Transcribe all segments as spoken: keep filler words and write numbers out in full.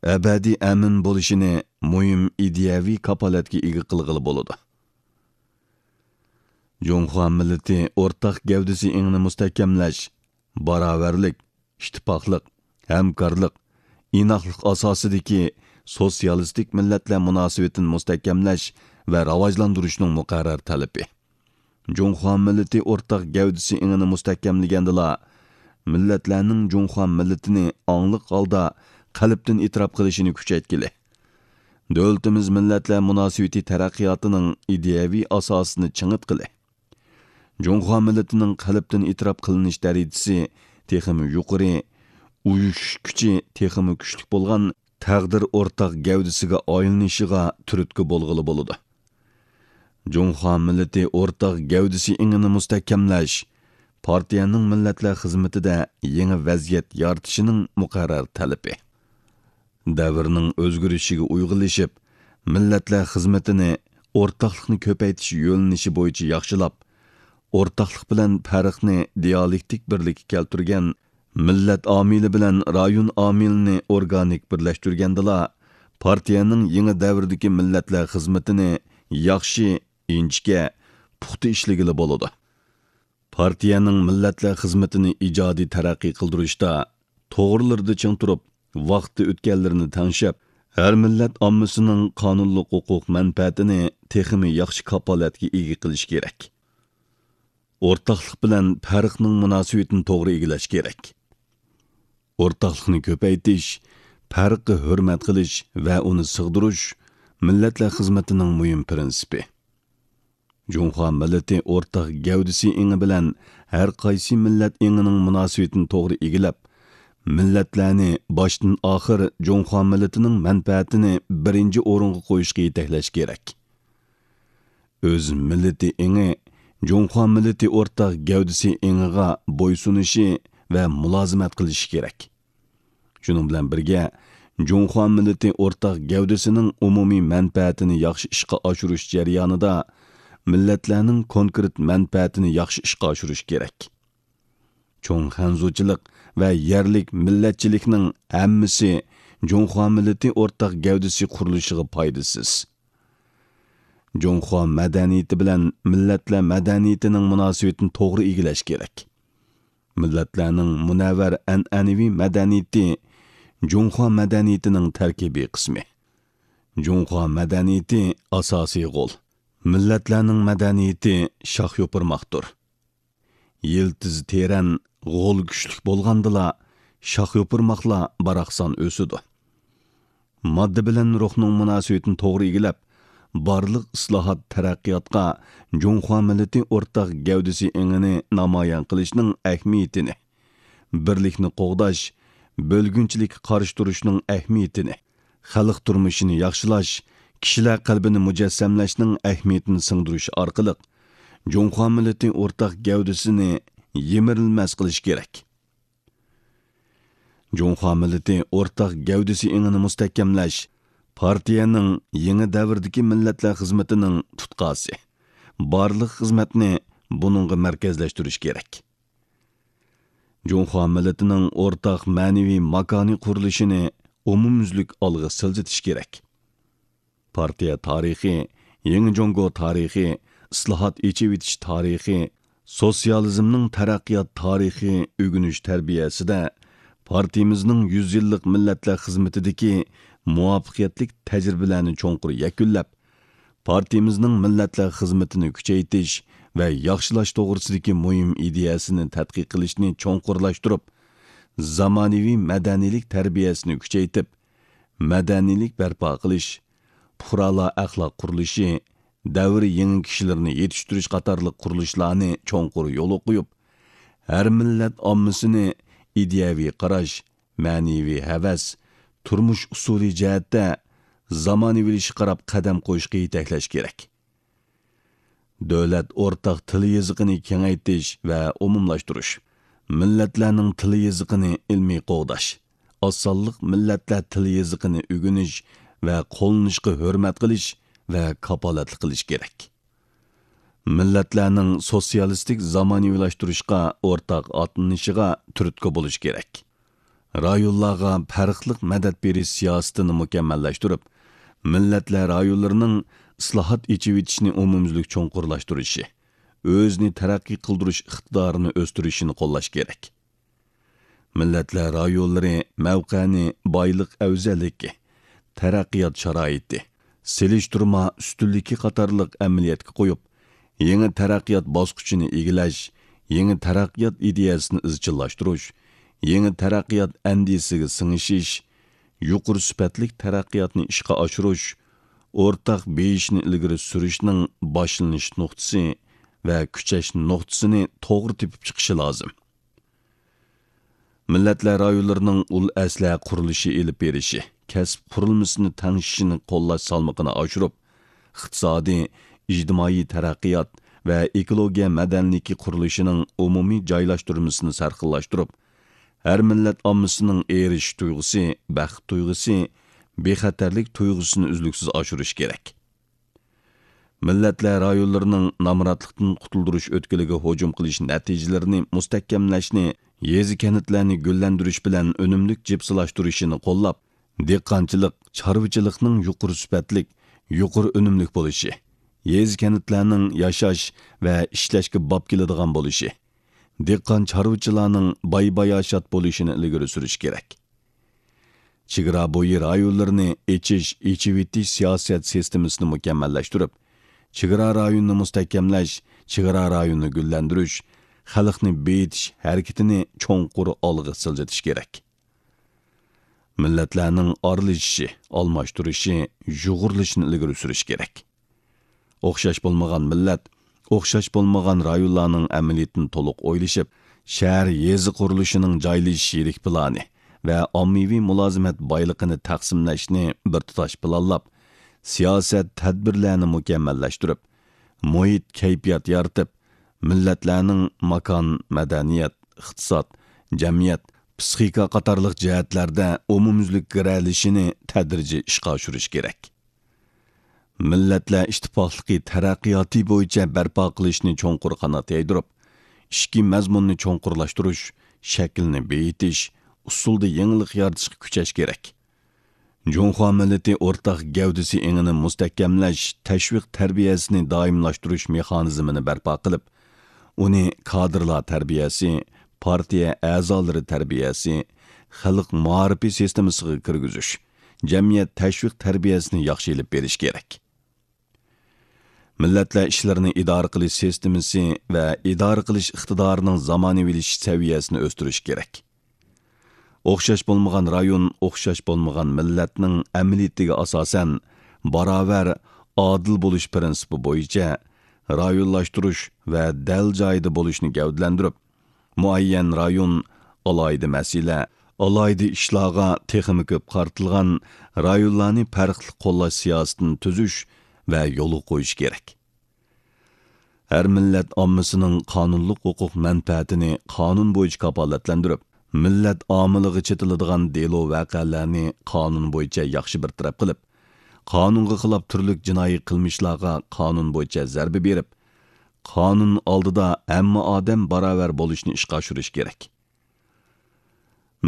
ئەبەدىي ئەمىن بولۇشىنى مۇھىم ئىدىيەۋى كاپالەتكە ئىگە قىلغىلى بولىدۇ. جۇڭخۇا مىللىتى ئورتاق گەۋدىسى ئېڭىنى مۇستەھكەملەش، باراۋەرلىك، ئىتتىپاقلىق، ھەمكارلىق، ئىناقلىق ئاساسىدىكى سوتسىيالىستىك مىللەتلەر مۇناسىۋىتىنى مۇستەھكەملەش ۋە راۋاجلاندۇرۇشنىڭ مۇقەررەر تەلىپى. جۇڭخۇا مىللىتى ئورتاق گەۋدىسى ئېڭىنى مۇستەھكەملىگەندىلا، مىللەتلەرنىڭ جۇڭخۇا مىللىتىنى ئاڭلىق ھالدا قەلبتىن ئېتىراپ قىلىشىنى كۈچەيتكىلى، دۆلىتىمىز مىللەتلەر مۇناسىۋىتى تەرەققىياتىنىڭ ئىدىيەۋى ئاساسىنى چىڭىتقىلى، جۇڭخۇا مىللىتىنىڭ قەلبتىن ئېتىراپ قىلىنىش دەرىجىسى تېخىمۇ يۇقىرى، ئۇيۇشۇش كۈچى تېخىمۇ كۈچلۈك بولغان تەقدىر ئورتاق گەۋدىسىگە ئايلىنىشىغا تۈرتكە بولغىلى بولىدۇ. جۇڭخۇا مىللىتى ئورتاق گەۋدىسى ئېڭىنى مۇستەھكەملەش، پارتىيەنىڭ مىللەتلەر خىزمىتىدە يېڭى ۋەزىيەت يارىتىشىنىڭ مۇقەررەر تەلىپى. دەۋرنىڭ ئۆزگىرىشىگە ئۇيغۇنلىشىپ، مىللەتلەر خىزمىتىنى ئورتاقلىقنى كۆپەيتىش يۆنىلىشى بويىچە ياخشىلاپ، ئورتاقلىق بىلەن پەرقنى دىيالېكتىك بىرلىككە كەلتۈرگەن، مىللەت ئامىلى بىلەن رايون ئامىلىنى ئورگانىك بىرلەشتۈرگەندىلا، پارتىيەنىڭ يېڭى دەۋردىكى مىللەتلەر خىزمىتىنى ياخشى، ئىنچىكە، پۇختا ئىشلىگىلى بولىدۇ. پارتىيەنىڭ مىللەتلەر خىزمىتىنى ئىجادىي تەرەققىي قىلدۇرۇشتا توغرىلىرىدا چىڭ تۇرۇپ، ۋاقتى ئۆتكەنلىرىنى تەڭشەپ، ھەر مىللەت ئاممىسىنىڭ قانۇنلۇق ھوقۇق مەنپەئەتىنى تېخىمۇ ياخشى كاپالەتكە ئىگە قىلىش كېرەك. ئورتاقلىق بىلەن پەرقنىڭ مۇناسىۋىتىنى توغرا ئىگىلەش كېرەك. ئورتاقلىقنى كۆپەيتىش، پەرققە ھۆرمەت قىلىش ۋە ئۇنى سىغدۇرۇش مىللەتلەر خىزمىتىنىڭ مۇھىم پىرىنسىپى. جۇڭخۇا مىللىتى ئورتاق گەۋدىسى ئېڭى بىلەن ھەر قايسى مىللەت ئېڭىنىڭ مۇناسىۋىتىنى توغرا ئىگىلەپ، مىللەتلەرنى باشتىن ئاخىر جۇڭخۇا مىللىتىنىڭ مەنپەئەتىنى بىرىنچى ئورۇنغا قويۇشقا يېتەكلەش كېرەك. ئۆز مىللىتى ئېڭى جۇڭخۇا مىللىتى ئورتاق گەۋدىسى ئېڭىغا بويسۇنۇشى ۋە مۇلازىمەت قىلىشى كېرەك. شۇنىڭ بىلەن بىرگە، جۇڭخۇا مىللىتى ئورتاق گەۋدىسىنىڭ ئومۇمىي مەنپەئەتىنى ياخشى ئىشقا ئاشۇرۇش جەريانىدا مىللەتلەرنىڭ كونكرېت مەنپەئەتىنى ياخشى ئىشقا ئاشۇرۇش كېرەك. چوڭ خەنزۇچىلىق ۋە يەرلىك مىللەتچىلىكنىڭ ھەممىسى جۇڭخۇا مىللىتى ئورتاق گەۋدىسى قۇرۇلۇشىغا پايدىسىز. جۇڭخۇا مەدەنىيىتى بىلەن مىللەتلەر مەدەنىيىتىنىڭ مۇناسىۋىتىنى توغرا ئىگىلەش كېرەك. مىللەتلەرنىڭ مۇنەۋۋەر ئەنئەنىۋى مەدەنىيىتى جۇڭخۇا مەدەنىيىتىنىڭ تەركىبىي قىسمى. جۇڭخۇا مەدەنىيىتى ئاساسىي غول، مىللەتلەرنىڭ مەدەنىيىتى شاخ-يوپۇرماقتۇر. يىلتىزى تېرەن، غول كۈچلۈك بولغاندىلا، شاخ-يوپۇرماقلار باراقسان ئۆسىدۇ. ماددا بىلەن روھنىڭ مۇناسىۋىتىنى توغرا ئىگىلەپ، بارلىق ئىسلاھات، تەرەققىياتقا جۇڭخۇا مىللىتى ئورتاق گەۋدىسى ئېڭىنى نامايان قىلىشنىڭ ئەھمىيىتىنى، بىرلىكنى قوغداش، بۆلگۈنچىلىككە قارشى تۇرۇشنىڭ ئەھمىيىتىنى، خەلق تۇرمۇشىنى ياخشىلاش، كىشىلەر قەلبىنى مۇجەسسەملەشنىڭ ئەھمىيىتىنى سىڭدۈرۈش ئارقىلىق، جۇڭخۇا مىللىتى ئورتاق گەۋدىسىنى يىمىرىلمەس قىلىش كېرەك. جۇڭخۇا مىللىتى ئورتاق گەۋدىسى ئېڭىنى مۇستەھكەملەش پارتىيەنىڭ يېڭى دەۋردىكى مىللەتلەر خىزمىتىنىڭ تۇتقاسى. بارلىق خىزمەتنى بۇنىڭغا مەركەزلەشتۈرۈش كېرەك. جۇڭخۇا مىللىتىنىڭ ئورتاق مەنىۋى ماكانى قۇرۇلۇشىنى ئومۇميۈزلۈك ئالغا سىلجىتىش كېرەك. پارتىيە تارىخى، يېڭى جۇڭگو تارىخى، ئىسلاھات، ئېچىۋېتىش تارىخى، سوتسىيالىزمنىڭ تەرەققىيات تارىخى ئۆگىنىش تەربىيەسىدە پارتىيىمىزنىڭ يۈز يىللىق مىللەتلەر خىزمىتىدىكى مۇۋەپپەقىيەتلىك تەجرىبىلەرنى چوڭقۇر يەكۈنلەپ، پارتىيىمىزنىڭ مىللەتلەر خىزمىتىنى كۈچەيتىش ۋە ياخشىلاش توغرىسىدىكى مۇھىم ئىدىيەسىنى تەتقىق قىلىشنى چوڭقۇرلاشتۇرۇپ، زامانىۋى مەدەنىيلىك تەربىيەسىنى كۈچەيتىپ، مەدەنىيلىك بەرپا قىلىش، پۇقرالار ئەخلاق قۇرۇلۇشى، دەۋر يېڭى كىشىلىرىنى يېتىشتۈرۈش قاتارلىق قۇرۇلۇشلارنى چوڭقۇر يولغا قويۇپ، ھەر مىللەت ئاممىسىنى ئىدىيەۋى قاراش، مەنىۋى ھەۋەس، تۇرمۇش ئۇسۇلى جەھەتتە زامانىۋىلىشىشقا قاراپ قەدەم قويۇشقا يېتەكلەش كېرەك. دۆلەت ئورتاق تىل يېزىقىنى كېڭەيتىش ۋە ئومۇملاشتۇرۇش، مىللەتلەرنىڭ تىل يېزىقىنى ئىلمىي قوغداش، ئاز سانلىق مىللەتلەر تىل يېزىقىنى ئۆگىنىش ۋە قوللىنىشقا ھۆرمەت قىلىش ۋە كاپالەتلىك قىلىش كېرەك. مىللەتلەرنىڭ سوتسىيالىستىك زامانىۋىلاشتۇرۇشقا ئورتاق ئاتلىنىشىغا تۈرتكە بولۇش كېرەك. رايونلارغا پەرقلىق مەدەت بېرىش سىياسىتىنى مۇكەممەللەشتۈرۈپ، مىللەتلەر رايونلىرىنىڭ ئىسلاھات، ئېچىۋېتىشنى ئومۇميۈزلۈك چوڭقۇرلاشتۇرۇشى، ئۆزىنى تەرەققىي قىلدۇرۇش ئىقتىدارىنى ئۆستۈرۈشىنى قوللاش كېرەك. مىللەتلەر رايونلىرى مەۋقەنى، بايلىق ئەۋزەللىكى، تەرەققىيات شارائىتى، سېلىشتۇرما ئۈستۈنلۈكى قاتارلىق ئەمەلىيەتكە قويۇپ، يېڭى تەرەققىيات باسقۇچىنى ئىگىلەش، يېڭى تەرەققىيات ئىدىيەسىنى ئىزچىللاشتۇرۇش، يېڭى تەرەققىيات ئەندىزىسىگە سىڭىشىش، يۇقىرى سۈپەتلىك تەرەققىياتنى ئىشقا ئاشۇرۇش، ئورتاق بېيىشنى ئىلگىرى سۈرۈشنىڭ باشلىنىش نۇقتىسى ۋە كۈچەش نۇقتىسىنى توغرا تېپىپ چىقىشى لازىم. مىللەتلەر رايونلىرىنىڭ ئۇل ئەسلىھە قۇرۇلۇشى ئېلىپ بېرىشى، كەسىپ قۇرۇلمىسىنى تەڭشىشىنى قوللاش سالمىقىنى ئاشۇرۇپ، ئىقتىسادىي، ئىجتىمائىي تەرەققىيات ۋە ئېكولوگىيە مەدەنىيلىكى قۇرۇلۇشىنىڭ ئومۇمىي جايلاشتۇرمىسىنى سەرخىللاشتۇرۇپ، ھەر مىللەت ئاممىسىنىڭ ئېرىشىش تۇيغۇسى، بەخت تۇيغۇسى، بىخەتەرلىك تۇيغۇسىنى ئۈزلۈكسىز ئاشۇرۇش كېرەك. مىللەتلەر رايونلىرىنىڭ نامراتلىقتىن قۇتۇلدۇرۇش ئۆتكىلىگە ھۇجۇم قىلىش نەتىجىلىرىنى مۇستەھكەملەشنى، يېزا-كەنتلەرنى گۈللەندۈرۈش بىلەن ئۈنۈملۈك جىپسىلاشتۇرۇشىنى قوللاپ، دېھقانچىلىق، چارۋىچىلىقنىڭ يۇقىرى سۈپەتلىك، يۇقىرى ئۈنۈملۈك بولۇشى، يېزا-كەنتلەرنىڭ ياشاش ۋە ئىشلەشكە باب كېلىدىغان بولۇشى، دېھقان-چارۋىچىلارنىڭ باي-باياشات بولۇشىنى ئىلگىرى سۈرۈش كېرەك. چېگرا بويى رايونلىرىنى ئېچىش، ئېچىۋېتىش سىياسەت سىستېمىسىنى مۇكەممەللەشتۈرۈپ، چېگرا رايونىنى مۇستەھكەملەش، چېگرا رايونىنى گۈللەندۈرۈش، خەلقنى بېيىتىش ھەرىكىتىنى چوڭقۇر ئالغا سىلجىتىش كېرەك. مىللەتلەرنىڭ ئارىلىشىشى، ئالماشتۇرۇشى، يۇغۇرۇلۇشىنى ئىلگىرى سۈرۈش كېرەك. ئوخشاش بولمىغان مىللەت، ئوخشاش بولمىغان رايونلارنىڭ ئەمەلىيىتىنى تولۇق ئويلىشىپ، شەھەر، يېزا قۇرۇلۇشىنىڭ جايلىشىش يىرىك پىلانى ۋە ئاممىۋى مۇلازىمەت بايلىقىنى تەقسىملەشنى بىر تۇتاش پىلانلاپ، سىياسەت، تەدبىرلەرنى مۇكەممەللەشتۈرۈپ، مۇھىت، كەيپىيات يارىتىپ، مىللەتلەرنىڭ ماكان، مەدەنىيەت، ئىقتىساد، جەمئىيەت، پىسخىكا قاتارلىق جەھەتلەردە ئومۇميۈزلۈك گىرەلىشىنى تەدرىجىي ئىشقا ئاشۇرۇش كېرەك. مىللەتلەر ئىتتىپاقلىقى تەرەققىياتى بويىچە بەرپا قىلىشنى چوڭقۇر قانات يايدۇرۇپ، ئىچكى مەزمۇننى چوڭقۇرلاشتۇرۇش، شەكىلنى بېيىتىش، ئۇسۇلدا يېڭىلىق يارىتىشقا كۈچەش كېرەك. جۇڭخۇا مىللىتى ئورتاق گەۋدىسى ئېڭىنى مۇستەھكەملەش، تەشۋىق تەربىيەسىنى دائىملاشتۇرۇش مېخانىزمىنى بەرپا قىلىپ، ئۇنى كادىرلار تەربىيەسى، پارتىيە ئەزالىرى تەربىيەسى، خەلق مائارىپى سىستېمىسىغا كىرگۈزۈش، جەمئىيەت تەشۋىق تەربىيەسىنى ياخشى ئېلىپ بېرىش كېرەك. مىللەتلەر ئىشلىرىنى ئىدارە قىلىش سىستېمىسى ۋە ئىدارە قىلىش ئىقتىدارىنىڭ زامانىۋىلىشىش سەۋىيەسىنى ئۆستۈرۈش كېرەك. ئوخشاش بولمىغان رايون، ئوخشاش بولمىغان مىللەتنىڭ ئەمەلىيىتىگە ئاساسەن، باراۋەر، ئادىل بولۇش پىرىنسىپى بويىچە رايونلاشتۇرۇش ۋە دەل جايىدا بولۇشنى گەۋدىلەندۈرۈپ، مۇئەييەن رايون، ئالاھىدە مەسىلە، ئالاھىدە ئىشلارغا تېخىمۇ كۆپ قارىتىلغان رايونلارنى پەرقلىق قوللاش سىياسىتىنى تۈزۈش ۋە يولغا قويۇش كېرەك. ھەر مىللەت ئاممىسىنىڭ قانۇنلۇق ھوقۇق مەنپەئەتىنى قانۇن بويىچە كاپالەتلەندۈرۈپ، مىللەت ئامىلىغا چېتىلىدىغان دېلو ۋەقەلەرنى قانۇن بويىچە ياخشى بىر تەرەپ قىلىپ، قانۇنغا خىلاپ تۈرلۈك جىنايى قىلمىشلارغا قانۇن بويىچە زەربە بېرىپ، قانۇن ئالدىدا ھەممە ئادەم باراۋەر بولۇشنى ئىشقا ئاشۇرۇش كېرەك.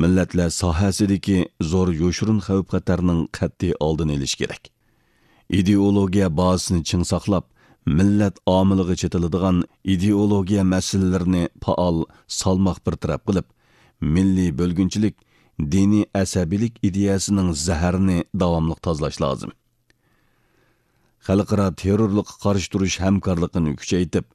مىللەتلەر ساھەسىدىكى زور يوشۇرۇن خەۋپ-خەتەرنىڭ قەتئىي ئالدىنى ئېلىش كېرەك. ئىدېئولوگىيە بازىسىنى چىڭ ساقلاپ، مىللەت ئامىلىغا چېتىلىدىغان ئىدېئولوگىيە مەسىلىلىرىنى پائال، سالماق بىر تەرەپ قىلىپ، مىللىي بۆلگۈنچىلىك، دىنىي ئەسەبىيلىك ئىدىيەسىنىڭ زەھىرىنى داۋاملىق تازىلاش لازىم. خەلقئارا تېررورلۇققا قارشى تۇرۇش ھەمكارلىقىنى كۈچەيتىپ،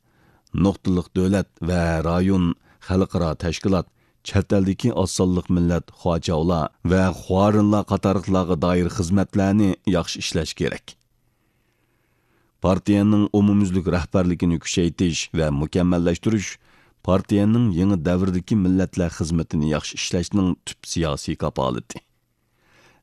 نۇقتىلىق دۆلەت ۋە رايون، خەلقئارا تەشكىلات، چەت ئەلدىكى ئاز سانلىق مىللەت خۇاچاۋلار ۋە خۇارىنلار قاتارلىقلارغا دائىر خىزمەتلەرنى ياخشى ئىشلەش كېرەك. پارتىيەنىڭ ئومۇميۈزلۈك رەھبەرلىكىنى كۈچەيتىش ۋە مۇكەممەللەشتۈرۈش پارتىيەنىڭ يېڭى دەۋردىكى مىللەتلەر خىزمىتىنى ياخشى ئىشلەشنىڭ تۈپ سىياسىي كاپالىتى.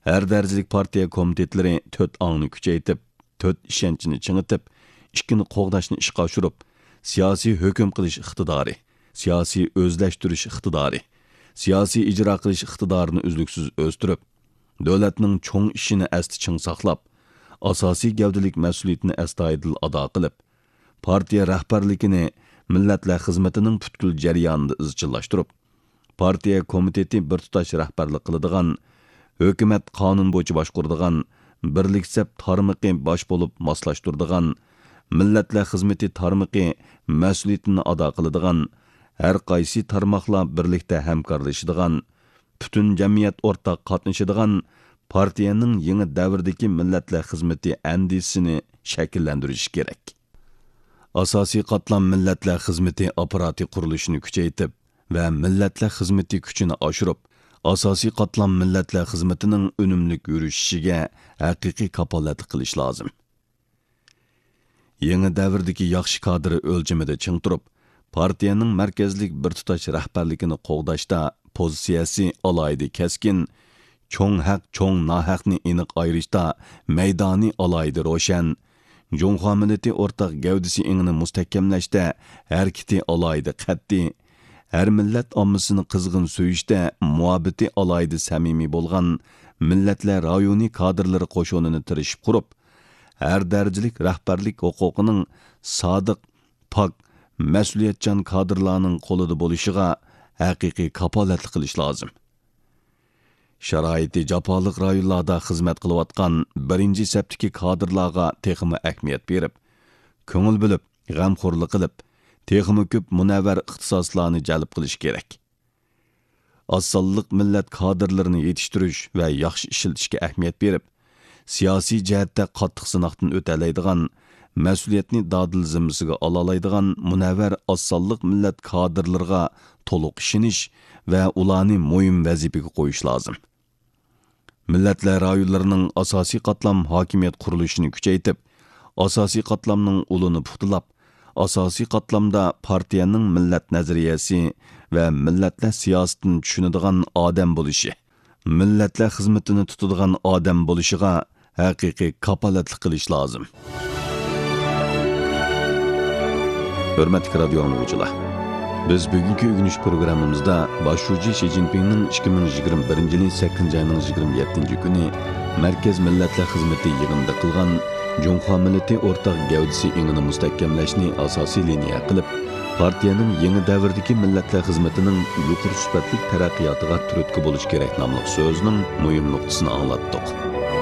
ھەر دەرىجىلىك پارتىيە كومىتېتلىرى تۆت ئاڭنى كۈچەيتىپ، تۆت ئىشەنچنى چىڭىتىپ، ئىككىنى قوغداشنى ئىشقا ئاشۇرۇپ، سىياسىي ھۆكۈم قىلىش ئىقتىدارى، سىياسىي ئۆزلەشتۈرۈش ئىقتىدارى، سىياسىي ئىجرا قىلىش ئىقتىدارىنى ئۈزلۈكسىز ئۆستۈرۈپ، دۆلەتنىڭ چوڭ ئىشىنى ئەستە چىڭ ساقلاپ، ئاساسىي گەۋدىلىك مەسئۇلىيىتىنى ئەستايىدىل ئادا قىلىپ، پارتىيە رەھبەرلىكىنى مىللەتلەر خىزمىتىنىڭ پۈتكۈل جەريانىدا ئىزچىللاشتۇرۇپ، پارتىيە كومىتېتى بىر تۇتاش رەھبەرلىك قىلىدىغان، ھۆكۈمەت قانۇن بويىچە باشقۇرىدىغان، بىرلىك سەپ تارمىقى باش بولۇپ ماسلاشتۇرىدىغان، مىللەتلەر خىزمىتى تارمىقى مەسئۇلىيىتىنى ئادا قىلىدىغان، ھەر قايسى تارماقلار بىرلىكتە ھەمكارلىشىدىغان، پۈتۈن جەمئىيەت ئورتاق قاتنىشىدىغان پارتىيەنىڭ يېڭى دەۋردىكى مىللەتلەر خىزمىتى ئەندىزىسىنى شەكىللەندۈرۈش كېرەك. ئاساسىي قاتلام مىللەتلەر خىزمىتى ئاپپاراتى قۇرۇلۇشىنى كۈچەيتىپ ۋە مىللەتلەر خىزمىتى كۈچىنى ئاشۇرۇپ، ئاساسىي قاتلام مىللەتلەر خىزمىتىنىڭ ئۈنۈملۈك يۈرۈشۈشىگە ھەقىقىي كاپالەتلىك قىلىش لازىم. يېڭى دەۋردىكى ياخشى كادىر ئۆلچىمىدە چىڭ تۇرۇپ، پارتىيەنىڭ مەركەزلىك بىر تۇتاش رەھبەرلىكىنى قوغداشتا پوزىتسىيەسى ئالاھىدە كەسكىن، چوڭ ھەق، چوڭ ناھەقنى ئېنىق ئايرىشتا مەيدانى ئالاھىدە روشەن، جۇڭخۇا مىللىتى ئورتاق گەۋدىسى ئېڭىنى مۇستەھكەملەشتە ھەرىكىتى ئالاھىدە قەتئىي، ھەر مىللەت ئاممىسىنى قىزغىن سۆيۈشتە مۇھەببىتى ئالاھىدە سەمىمىي بولغان مىللەتلەر رايونى كادىرلىرى قوشۇنىنى تىرىشىپ قۇرۇپ، ھەر دەرىجىلىك رەھبەرلىك ھوقۇقىنىڭ سادىق، پاك، مەسئۇلىيەتچان كادىرلارنىڭ قولىدا بولۇشىغا ھەقىقىي كاپالەتلىك قىلىش لازىم. شارائىتى جاپالىق رايونلاردا خىزمەت قىلىۋاتقان بىرىنچى سەپتىكى كادىرلارغا تېخىمۇ ئەھمىيەت بېرىپ، كۆڭۈل بۆلۈپ، غەمخورلۇق قىلىپ، تېخىمۇ كۆپ مۇنەۋۋەر ئىختىساسلارنى جەلپ قىلىش كېرەك. ئاز سانلىق مىللەت كادىرلىرىنى يېتىشتۈرۈش ۋە ياخشى ئىشلىتىشكە ئەھمىيەت بېرىپ، سىياسىي جەھەتتە قاتتىق سىناقتىن ئۆتەلەيدىغان، مەسئۇلىيەتنى دادىل زىممىسىگە ئالالايدىغان مۇنەۋۋەر ئاز سانلىق مىللەت كادىرلىرىغا تولۇق ئىشىنىش ۋە ئۇلارنى مۇھىم ۋەزىپىگە قويۇش لازىم. مىللەتلەر رايونلىرىنىڭ ئاساسىي قاتلام ھاكىمىيەت قۇرۇلۇشىنى كۈچەيتىپ، ئاساسىي قاتلامنىڭ ئۇلىنى پۇختىلاپ، ئاساسىي قاتلامدا پارتىيەنىڭ مىللەت نەزەرىيەسى ۋە مىللەتلەر سىياسىتىنى چۈشىنىدىغان ئادەم بولۇشى، مىللەتلەر خىزمىتىنى تۇتىدىغان ئادەم بولۇشىغا ھەقىقىي كاپالەتلىك قىلىش لازىم. ھۆرمەتلىك رادىيو ئاڭلىغۇچىلار! بىز بۈگۈنكى ئۆگىنىش پروگراممىمىزدا باش شۇجى شى جىنپىڭنىڭ ئىككى مىڭ يىگىرمە بىرىنچى يىلى سەككىزىنچى ئاينىڭ يىگىرمە يەتتىنچى كۈنى مەركەز مىللەتلەر خىزمىتى يىغىنىدا قىلغان جۇڭخۇا مىللىتى ئورتاق گەۋدىسى ئېڭىنى مۇستەھكەملەشنى ئاساسىي لىنىيە قىلىپ، پارتىيەنىڭ يېڭى دەۋردىكى مىللەتلەر خىزمىتىنىڭ يۇقىرى سۈپەتلىك تەرەققىياتىغا تۈرتكە بولۇش كېرەك ناملىق سۆزىنىڭ مۇھىم نۇقتىسىنى ئاڭلاتتۇق.